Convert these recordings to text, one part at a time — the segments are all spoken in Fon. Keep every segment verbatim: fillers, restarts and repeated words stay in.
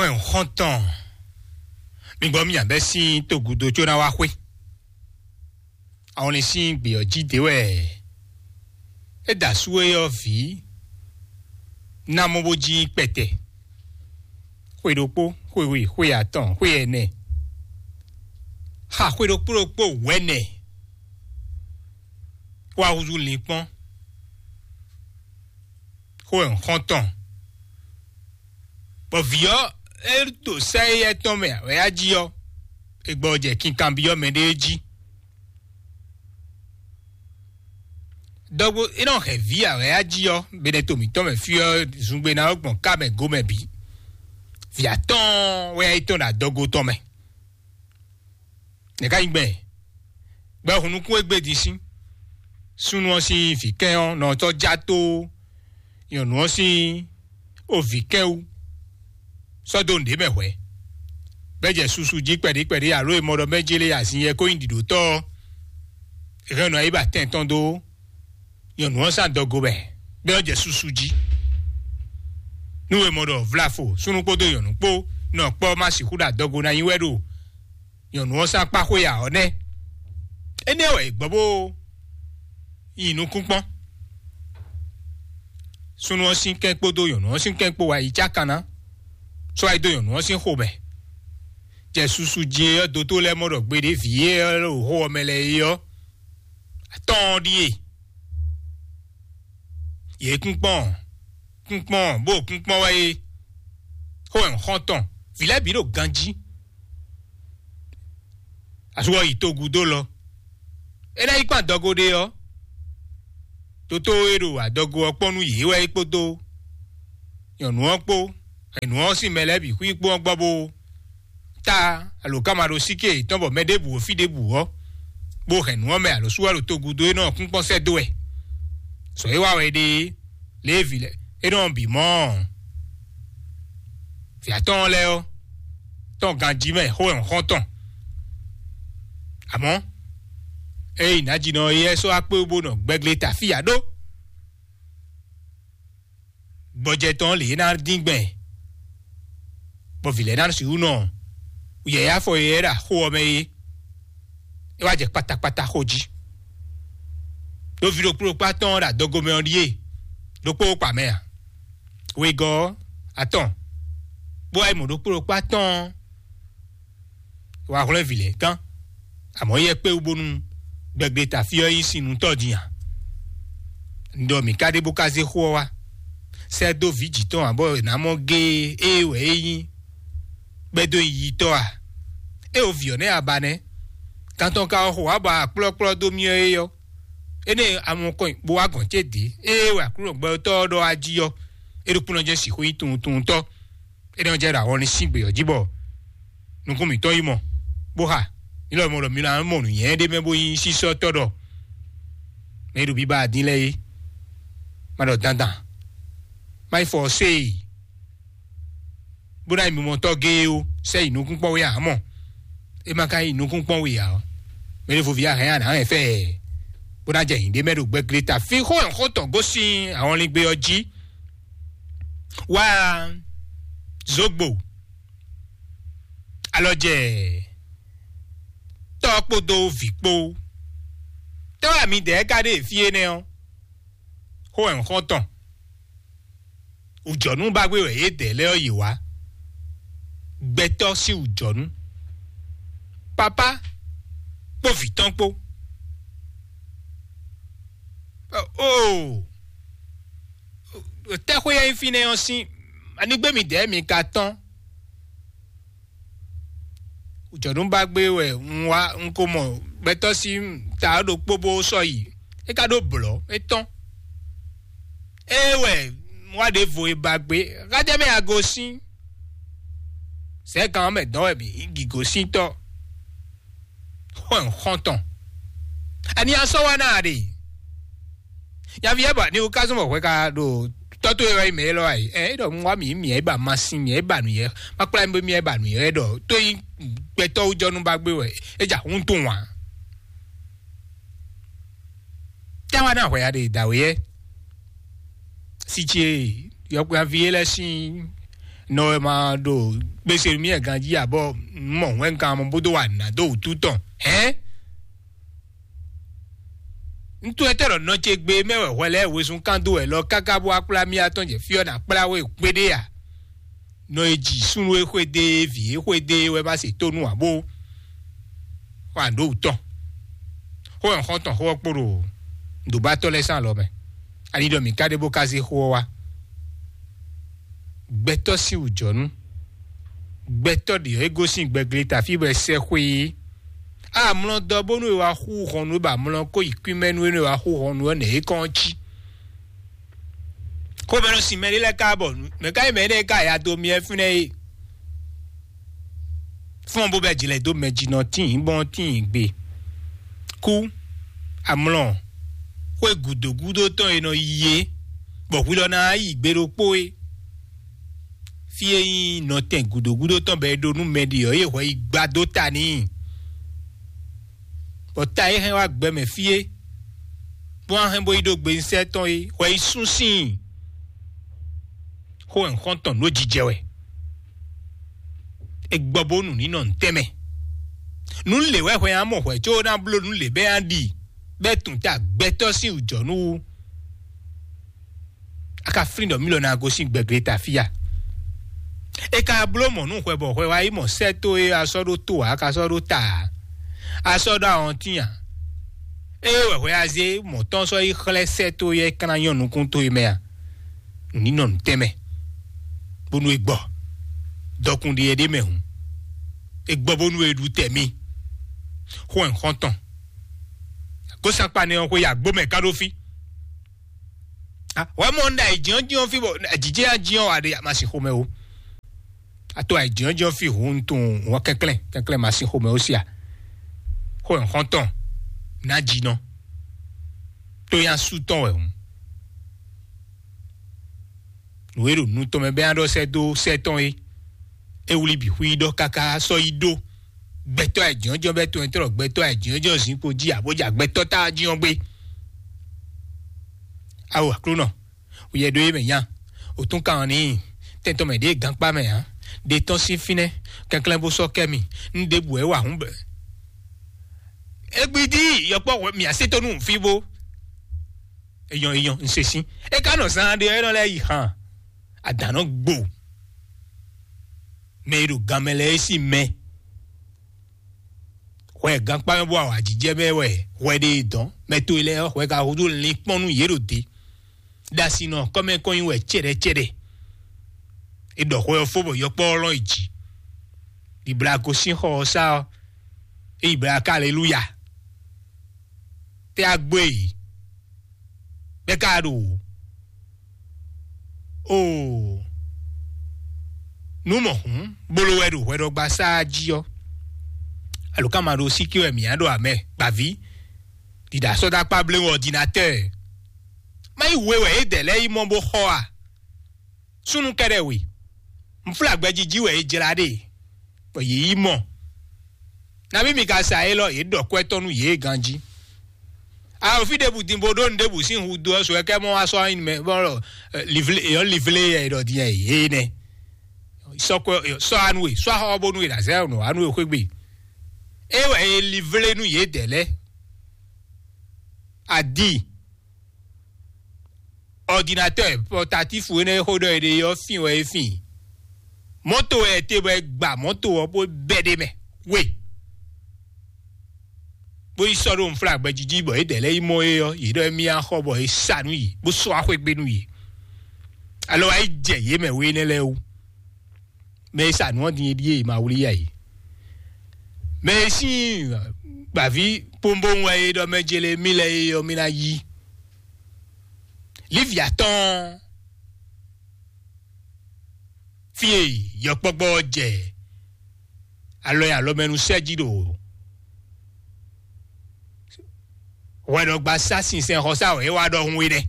Xɔ́n xɔ́ntɔn, mi gbɔ mì abɛ sín togudo có ná wá xwé. Àwọn lè sín gbè ɔ́ jí dě wɛ é da sú é ɔ́ vǐ ná mɔ bó jí kpɛtɛ. Xwe ɖokpó, xwe we, xwe atɔn, xwe ɛnɛ, xa xwe ɖokpó ɖokpó wɛ̌nɛ wá húzú linkpɔ́n. Xó wɛ un xɔ́n tɔn. Bɔ vǐ ɔ́, é ɖo sɛ́ éyɛ́ tɔn mɛ wɛ á jí ɔ́, é gbɔ jɛ kinkanbyɔ́ mɛɖée jí. Dɔgbo é nɔ hɛn vǐ a wɛ á jí ɔ́, benɛto mǐtɔn mɛ fí ɔ́ zungbe ná ɔ́ gbɔn ká mɛ gomɛ bǐ. Vǐ atɔ́ɔ́n wɛ é tɔn ɖo adɔgo tɔn mɛ. Nɛ̌ ká nyí gbɛn? Gbɛhun nukún e gbé din sín. Súnnu ɔ́ sín vǐ kɛn ɔ́ nɔ tɔ́ já tó nyɔ̌nu ɔ́ sín ovǐ kɛ́n wú, sɔ́ dó nǔɖé mɛ hwɛ̌. Bɛ́ jɛ susu jí kpɛɖí kpɛɖí alo e mɔ ɖɔ mɛ́ jélé azin yɛ kó nyí ɖiɖǒtɔ́ ɔ́, è hɛn nɔ yi ba tɛn tɔn dó nyɔ̌nu ɔ́ sín adɔgo mɛ, bɛ́ ɔ́ jɛ susu jí. Nú e mɔ ɖɔ vlafo súnnu kpódó nyɔ̌nu kpó nɔ kpɔ́ má sixú ɖo adɔgo ná nyi wɛ ɖo nyɔ̌nu ɔ́ sín akpá xwé ǎ ɔ́ nɛ́. Énɛ́ wɛ è gbɔ bó nyi nukúnkpɔ́n. Súnnu ɔ́ sín kɛ́n kpódó nyɔ̌nu ɔ́ sín kɛ́n kpó wá yi cákan ná, sɔ́ wá yi dó nyɔ̌nu ɔ́ sín xomɛ. Jɛ susu jí é ɔ́, dótó lɛ́ɛ mɔ ɖɔ gbeɖé vǐ e ɔ́ ɖo xó ɔ́ mɛ lɛ́ɛ é ɔ́, atɔ́ɔ́n ɖíe. Yě kúnkpɔ́n, kúnkpɔ́n, bó kúnkpɔ́n wɛ é. Xó wɛ un xɔ́n tɔn, vǐ lɛ́ɛ bǐ ɖo ganjí. Asú ɔ́ yi togun dó lɔ. É ná yi kpán adɔgo ɖé ɔ́, dótó e ɖo adɔgo ɔ́ kpɔ́n nú yě wɛ é kpódó nyɔ̌nu ɔ́ kpó, nyɔ̌nu ɔ́ sín mɛ lɛ́ɛ bǐ xwí kpó ɔ́ gbɔ bó ta alǒkanmaɖósíké yětɔn bɔ mɛ ɖěbǔ o fí ɖěbǔ ɔ́, bó hɛn nǔ ɔ́ mɛ alǒ sú wá ɖo togun dó é nɔ kúnkpɔ́n sɛ́ dó wɛ. Sɔ é wá wɛ ɖe é, Lévi lɛ́ɛ é nɔ bǐ mɔ ɔ́, vǐ atɔ́ɔ́n lɛ́ɛ ɔ́ tɔn ganjí mɛ xó wɛ un xɔ́n tɔn. Amɔ̌, ée yi nǎjínɔ é yɛ́ sɔ́ akpé bó nɔ gbɛglé ta fí ǎ ɖó. Gbɔjɛ tɔn lě é ná dín gbɛn, bɔ vǐ lɛ́ɛ ná sixú nɔ yɛ̌yá afɔ e é ɖo axó ɔ́ mɛ é, é wá jɛ kpatakpata xo jí. Ɖó ví ɖokpó ɖokpó atɔ́ɔ́n ɖo adɔgo mɛ ɔ́ ɖíe, ɖokpó kpa mɛ ǎ. Wegɔ́ ɔ́, atɔn, bó wá yi mɔ ɖokpó ɖokpó atɔ́ɔ́n, wá hwlɛ́n vǐ lɛ́ɛ gán, amɔ̌ yɛ kpé wú bónú gbɛgbléta fí ɔ́ nyí sinnutɔ́ din a? Un ɖɔ mǐ ka ɖe bó ka zé xó ɔ́ wá, sɛ́ dó vǐ jǐ tɔn ǎ, bɔ è nǎ mɔ géé ée wɛ é nyí, bɛ́ dó nyi yitɔ́ a? É o vǐ ɔ́ nɛ́ a ba nɛ́, gán tɔn ka wá xo wá bɔ aklɔ́kplɔ́ dó myɔ é ɔ́, énɛ́ amɔkɔn bó wá gɔn cé dě, ée wɛ Aklúnɔ gbɛtɔ́ ɔ́ ɖɔ wá jí ɔ́, é ɖokpónɔ jɛ́n sixú nyí tunwuntunwuntɔ́. É nɔ jɛ ɖo awɔ ní sín gbě ɔ́ jí bɔ nukún mǐtɔn yi mɔ, bó xa ní lɔ mɔ ɖɔ mi ná mɔ nǔnyɛ ɖé mɛ bó nyí sísɔ́tɔ́ ɖɔ mɛ e ɖo biba dín lɛ́ɛ é, má ɖɔ dandan, má yi fɔ séi, bó ná yi mimɔtɔ́ géé ó, sɛ yi nukún kpɔ́n wé ǎ mɔ. É má ka yi nukún kpɔ́n wé ǎ ɔ́, mɛ ɖěvo ví a hɛn a nǎ hɛn fɛ ɛ, bó ná jɛ nyǐɖé mɛ ɖo gbɛglé ta fí xó ɛ xó tɔn gosín ahɔnlín gbé ɔ́ jí. Wá zogbo, alɔ jɛ tɔ́ kpódó vǐ kpó. Tɔ́ wɛ midɛɛ ka ɖe fí énɛ́ ɔ́? Xó wɛ un xɔ́n tɔn. Wǔjɔnú ba gbé wɛ yědɛɛ lɛ́ɛ ɔ́ yě wá. Gbɛtɔ́ sín wǔjɔnú, papá kpó vǐ tɔn kpó. Ɔ, oo, tɛ́xwé e nyí fínɛ́ ɔ́ sín anigbé midɛɛ mi ka tɔ́n? Jɔ̌núbágbé wɛ un wá, un ko mɔ gbɛtɔ́ sín ta ɔ́ ɖokpó bó sɔ́ yi. É ka ɖó blɔ̌, é tɔ́n. Ée wɛ un wá ɖěvo e ba gbé, xájá mɛ a gosín. Sɛ̌kan ɔ́ mɛ dɔn wɛ mǐ yi gǐgosíntɔ́. Xɔ́n xɔ́ntɔn. Ani a sɔ́ wá ná a ɖe? Nyaví ɛ bɔ ani wú ká zɔn bɔ hwɛ ka ɖo tɔ́ towe wɛ nyí mɛ élɔ́ ǎ é? Ɛ é ɖɔ un wá mǐ mǐ ɛ ba masin mǐ ɛ ba nǔyɛ, ma kplá mi mǐ ɛ ba nǔyɛ ɖɔ tó nyí gbɛtɔ́ wú jɔ́nú ba gbé wɛ é ja hun tún wǎn. Tɛ́ wá ná hwɛ ya ɖe dǎwe yɛ? Sí ce yɔkpɛ́nví é lɛ́ sín nɔ wɛ ma ɖo gbèsè mì ganjí abɔ mɔ hwɛngán mɔ bó dó wà nà dó wútu tɔn hɛn. Ŋutsu etɔ́ ɖɔ nɔ ce gbe mɛ wɛ hwɛ lɛ́ɛ wezun kán dó wɛ lɔ káká bó wá kplá mì atɔn jɛ fí ɔ́ ná kplá we kpéɖé a? Nɔ e ji súnnu e xwedé, vǐ e xwedé wɛ ma se tónú abo xɔ àndó wutɔn. Xó ɛ xɔ́ntɔn xó ɔ́ kpo ɖo ŋdǒbátɔ́ lɛ́ɛ sín alɔ mɛ. Ali ɖɔ mǐ ka ɖe bó ka zé xó ɔ́ wá. Gbɛtɔ́ sín wǔjɔnú. Gbɛtɔ́ ɖě ɔ́ é gosín gbɛgleta fí bɔ è sɛ́ xwé é. Amlɔ dɔ bónú è wá xú hɔnnu é ba amlɔ kó yi kwín mɛ nú é nú è wá xú hɔnnu ɔ́ nɛ̌ é kɔn ɔ́ cí. Xomɛnu sin mɛ ɖé lɛ́ɛ ka bɔ mɛ ka nyí mɛ énɛ́ e ka ya dó myɛ fínɛ́ é. Fún ɔ́ bó bɛ́ jlɛ̌ dó mɛ jí nɔ tíin bɔn tíin gbe. Kú amlɔ xwé gǔdo gúdo tɔn e nɔ yi é, bɔ hwi lɔ ná yi gbe ɖokpó é. Fí e nyí nɔtɛn gǔdo gúdo tɔn bɔ è ɖo nú mɛ ɖi ɔ́, é hwɛ yi gba dó ta n'i. Bɔ ta e hɛn wá gbɛ mɛ fí é, bó wá hɛn bó yi ɖó gbe sɛ́ tɔn é, hwɛ yi sún síin. Xó wɛ un xɔ́n tɔn nǔ jijɛ wɛ. È gbɔ bó nǔ ní nɔ ntɛ́nmɛ. Nǔ lě wɛ hwɛ ná mɔ hwɛ có ná bló nǔ lě bɛ́ ná ɖi, bɛ́ tun ta gbɛtɔ́ sín wǔjɔnú wú. A ka flín ɖɔ mí lɔ ná gosín gbɛgleta fí a? È ka bló mɔ̌ nú hwɛ bɔ hwɛ wá yi mɔ sɛ́ tó e a sɔ́ ɖó tó ǎ, a ka sɔ́ ɖó ta ǎ, a sɔ́ ɖó awɔntín ǎ. Ée wɛ hwɛ a zé mɔ̌ tɔn sɔ́ yi xlɛ́ sɛ́ tó e é ka ná nyɔ́ nukún towe mɛ a? Nǔ ní nɔ nǔtɛn mɛ, bónú é gbɔ. Dɔkun ɖi é ɖ'é mɛ hǔn, é gbɔ bónú é ɖu tɛ mì. Xó ɛ xɔ́ntɔn. Gósankpa nɛ ɔ́ xwe yi agbó mɛ ká ɖó fí. Ah, wɛ mɔ un ɖo ayǐjínjɔ́n fí bɔ jǐjɛ ya jínjɔ́n wa ɖe ma sin xomɛ o. A to ayǐjínjɔ́n fí hǔn un tunwun wɔ kɛnklɛ́n kɛnklɛ́n ma sin xomɛ ó sia. Xó ɛ xɔ́ntɔn ná jí nɔ. Tó yá sú tɔn wɛ hǔn. Nǔ e ɖo nu tɔn mɛ bɛ́ ná ɖɔ sɛ́ dó sɛ́ tɔn é. É wlí bǐ xwí ɖɔ káká sɔ́ yi ɖó. Gbɛtɔ́ ayǐjínjɔ́n bɛ́ tɔn ɛ tɔn gbɛtɔ́ ayǐjínjɔ́n zinkpo jí abó ja gbɛtɔ́ tá jí ɔ́ gbé. Awo Aklúnɔ, wuyɛ ɖó yé mɛ nya, òtún kan ɔ́ n'i, tɛntɔn mɛ ɖě gankpá mɛ ǎ, ɖe tɔn sín fínɛ́, kɛnklɛ́n bó sɔ́ kɛ mì, un ɖěbǔ wɛ wa hǔn bɛ́. Égbídí yɔkpɔ́ hwɛ mì asétɔ́ nú fí bó. Eyɔn eyɔn, un se sín. É ka nɔ zán ɖé ɔ́, é nɔ lɛ́ yi hàn. Adǎn nɔ gbo. Mɛ e ɖo ganmɛ lɛ́ɛ é sín mɛ. Hwɛ gankpá mɛ bó awǎjijɛ mɛ wɛ hwɛ ɖe e dɔn. Mɛ towe lɛ́ɛ ɔ́, hwɛ ka húzú linkpɔ́n nú yě ɖo te. Ɖasinɔ kɔ́mɛ kɔn nyi wɛ cɛɖɛcɛɖɛ. È ɖɔ hwɛ ɔ́ fó bɔ yɔkpɔ́ ɔ́ lɔn yi jǐ. Ɖibla gosín xɔ ɔ́ sá ɔ́, é yi bla ká aleluya. Tɛ́ a gbó e? Bɛ́ ka ɖo? Oo, nú mɔ hǔn bolo wɛ ɖo hwɛɖɔgbasá jí ɔ́, alo ká ma ɖo síkí wɛ mǐ á ɖo amɛ gbǎví ɖiɖa sɔ́ dó akpá bléwún ɔdinatɛ́ɛ? Má yi we wɛ é dɛ lɛ́ɛ yi mɔ bó xɔ a? Súnnu kɛ́ɖɛ́ we, nflágbɛjí jí wɛ é jlá ɖe, bɔ yě yi mɔ. Nabí mi ka sa élɔ́, yě ɖɔ kwɛ́ tɔn nú yě ganjí. Awo fí ɖěbǔ din bó ɖó nǔ ɖěbǔ sín hu dó ɔ́, sɔ ɛ kɛ mɔ wá sɔ́ anyi mɛ bɔ livlé yɔ livlé yɛ ɖɔ din yɛ yé nɛ. Sɔ kwɛ sɔ anu e sɔ axɔ bónú e ɖazɛ nɔ anu e xwé gbe. É wɛ é livlé nú yě dɛ lɛ́ɛ. Adi, ɔdinatɔ́ pɔtatífu énɛ́ e xó ɖɔ è ɖe é ɔ́ fin wɛ é fin. Mɔ̌to wɛ è te bɔ è gba mɔ̌to ɔ́ bó bɛ́ ɖ'é mɛ we, bó yi sɔ́ ɖó nflágbɛ́ jí jí bɔ é ɖɛ lɛ́ɛ yi mɔ é ɔ́, yě ɖɔ émí á xɔ bɔ é sa nú yě bó sɔ́ axwé gbé nú yě. Alɔ wá yi jɛ yě mɛ we énɛ́ lɛ́ɛ wú. Mɛ e sa nǔ ɔ́ din é ɖíe è ma wlí yá yě. Mɛ e sín gbǎví kpónbóŋ wɛ é ɖɔ mɛ jele mí lɛ́ɛ é ɔ́, mí ná yí. Lívia tɔn fí e yɔkpɔ́gbɔ ɔ́ jɛ alɔ e alɔmɛnu sɛ́ jí ɖo hwɛɖɔgba sá sinsɛnxɔsá wɛ é wá ɖɔhun é nɛ́.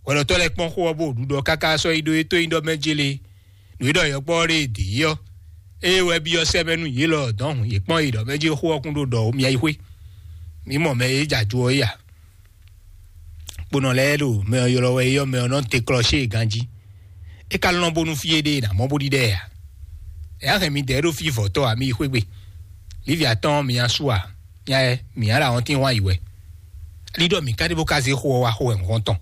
Hwɛɖɔtɔ́ lɛ́ɛ kpɔ́n xó ɔ́ bó ɖu ɖɔ káká sɔ́ yi ɖó é tó nyi ɖɔ mɛ jélé. Nǔ e ɖɔ yɔkpɔ́ ɔ́ ɖe dǐ ɔ́, ée wɛ byɔ́ sɛ́ mɛ nú yě lɔ dɔ̌n hǔn yě kpɔ́n yi ɖɔ mɛ jí xó ɔ́ kún ɖó ɖɔ ó mia yi xwé. Mǐ mɔ mɛ e jɛ ajo ɔ́ yi a? Kponɔ lɛ́ɛ ɖo mɛ ɔ́ ylɔ́ wɛ é ɔ́, mɛ ɔ́ nɔ te klɔ́ xé e ganjí. É ka lɔn bónú fí éɖée ná mɔ bó ɖiɖɛ ǎ. Ɛ á hɛn mi dɛ̌ ɖó fí vɔ̌tɔ́ ǎ, mi yi xwé gbe. Lívia tɔn mi nya sú ǎ, nya ɛ mi nya ɖo awɔntín hwan yi wɛ. Ali ɖɔ mi ka ɖe bó ka zé xó ɔ́ wá xó wɛ nǔ tɔn.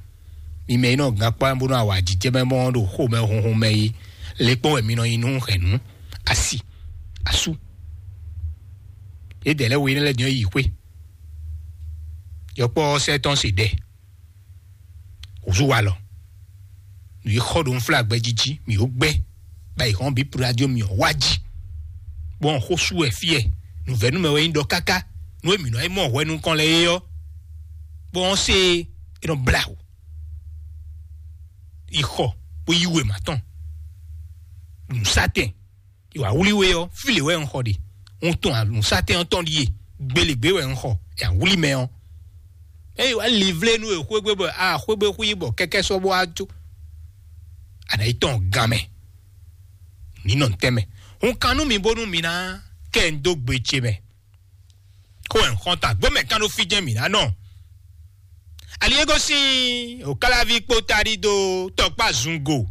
Mi mɛ yi nɔ gán kpá bónú awa jijɛ mɛ mɔ ɖo xó mɛ hunhun mɛ yi. Le kpɔ́n wɛ mi nɔ nyi nú hɛ̌nnu, asi, asú. Yědɛɛ lɛ́ɛ wo yi nɛ́ lɛ́ɛ din ɔ́ yi xwé. Yɔkpɔ́ ɔ́ sɛ́ tɔn se ɖɛ. Wǔzú wa lɔ. Nǔ yi xɔ ɖo nflá gbɛ jí jí, mǐ ó gbɛ́. Ba yi hɔn bí radio mi ɔ́ wá jí. Bɔn xó sú wɛ fíɛ. Nǔvɛ́nú mɛ wɛ nyí ɖɔ káká. Nú e mǐ nɔ yi mɔ hwɛ nukɔn lɛ é ɔ́, bɔn ɔ́ se é nɔ blá wǔ. Yi xɔ bó yí wěma tɔn. Nǔsátɛn. Ìwà wúlí we ɔ́, fí lě wɛ un xɔ ɖe. Un tɔn àlùsátɛn ɔ́ tɔn ɖíe. Gbelegbé wɛ un xɔ. Yà wúlí mɛ ɔ́. Eye wá livlénu e xwégbé bɔ a xwégbé xwí bɔ kɛkɛ sɔ́ bó wá jó. Àná yi tɔn gan mɛ. Ní nɔ ntɛ́ mɛ. Un kan nú mi bónú mi ná kɛ ń dó gbe ce mɛ. Kó ẹ̀ ń xɔ́n ta gbó mɛ kán ɖó fí jɛ́n mǐ ná nɔ. Ali e gosín òkálaví kpó taɖí dó tɔkpá zungo.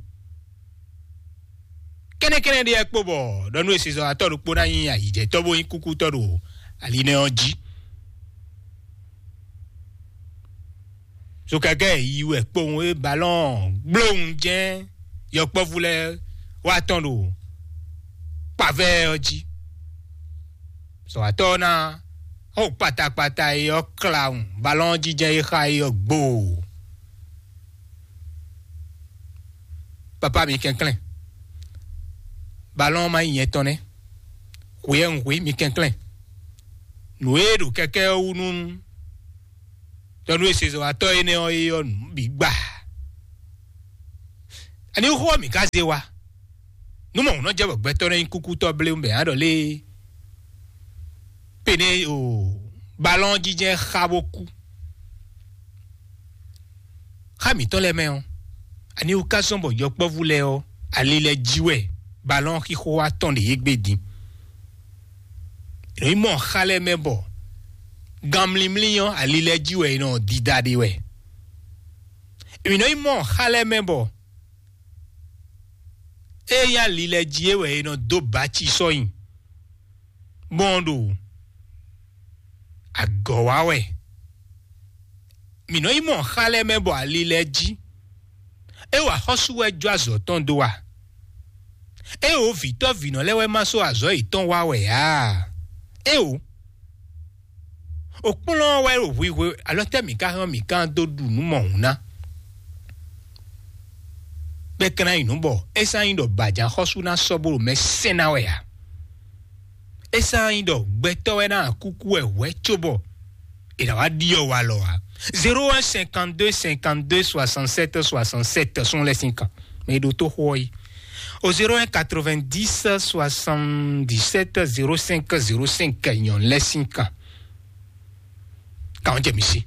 Kɛ́nɛ́kɛ́nɛ́ ɖé ɛ kpo bɔ ɖɔ nú esizɔ́watɔ́ ɖokpó ná nyí ayǐjɛtɔ́ bó nyí kúkútɔ́ ɖo ali nɛ́ ɔ́ jí. Zokɛkɛ yi wɛ kpowun e balɔn gblóhùn jɛ́n yɔkpɔ́vú lɛ́ɛ wá tɔn ɖo kpavɛ ɔ́ jí. Zɔ̌watɔ́ ɔ́ ná xo kpatakpata e ɔ́ klawun balɔn ɔ́ jijɛ e xa e ɔ́ gboo. Papa mi kɛnklɛ́n, balɔn ɔ́ ma nyí nyɛ tɔn nɛ́. Hwe ɛ un hwe mi kɛnklɛ́n. Nǔ e ɖo kɛkɛ ɔ́ wú nú tɔnu e sezɔwatɔ́ énɛ́ ɔ́ é ɔ́ nǔ bǐ gba. Ani xó ɔ́ mǐ ka zé wa? Nú mɔ nǔ nɔ jɛ bɔ gbɛtɔ́ nɔ nyí kúkútɔ́ bléwún bɛ á ɖɔ lé pene o balɔn jijɛ xa bó kú. Xa mǐtɔn lɛ́ɛ mɛ ɔ́, ani wú ka zɔ́n bɔ yɔkpɔ́vú lɛ́ɛ ɔ́ ali lɛ́ɛ jí wɛ balɔn xixo wá tɔn ɖe yě gbe din? È nɔ yi mɔ xa lɛ́ɛ mɛ bɔ gan mlímlí ɔ́ ali lɛ́ɛ jí wɛ è nɔ dida ɖe wɛ. È nɔ yi mɔ xa lɛ́ɛ mɛ bɔ ée nyí ali lɛ́ɛ jí é wɛ è nɔ dó bǎ ci sɔ́ nyi, bɔn ɖo agɔ̌ wa wɛ. Mǐ nɔ yi mɔ xa lɛ́ɛ mɛ bɔ ali lɛ́ɛ jí. É wa xɔ́sú wɛ jó azɔ̌ tɔn dó a? É wǒ vǐtɔ́ vǐnɔ lɛ́ɛ wɛ ma sɔ́ azɔ̌ yětɔn wa wɛ ǎ? É wǒ. Òkplɔ́n ɔ́ wɛ ɖo hwihwe alɔ tɛ́ mǐ ka hɛn mǐ ka dó ɖu nǔ mɔ̌hun ná? Bɛ́ kɛ́n ná nyi nǔ bɔ é sán nyí ɖɔ bǎjǎ xɔ́sú ná sɔ́ bó ɖo mɛ sɛn ná wɛ ǎ. É sán nyí ɖɔ gbɛtɔ́ wɛ ná kúkú wɛ hwɛ̌ cóbɔ è nǎ wá ɖiɔ walɔ ǎ. Zéro un cinquante-deux cinquante-deux soixante-sept soixante-sept sɔ́n lɛ́ sín kan. Mɛ e ɖo tó xó ɔ́ yi. O zéro un quatre-vingt-dix soixante-dix-sept zéro cinq zéro cinq nyɔ̌nu lɛ́ sín kan. Kàn jɛ mi sí.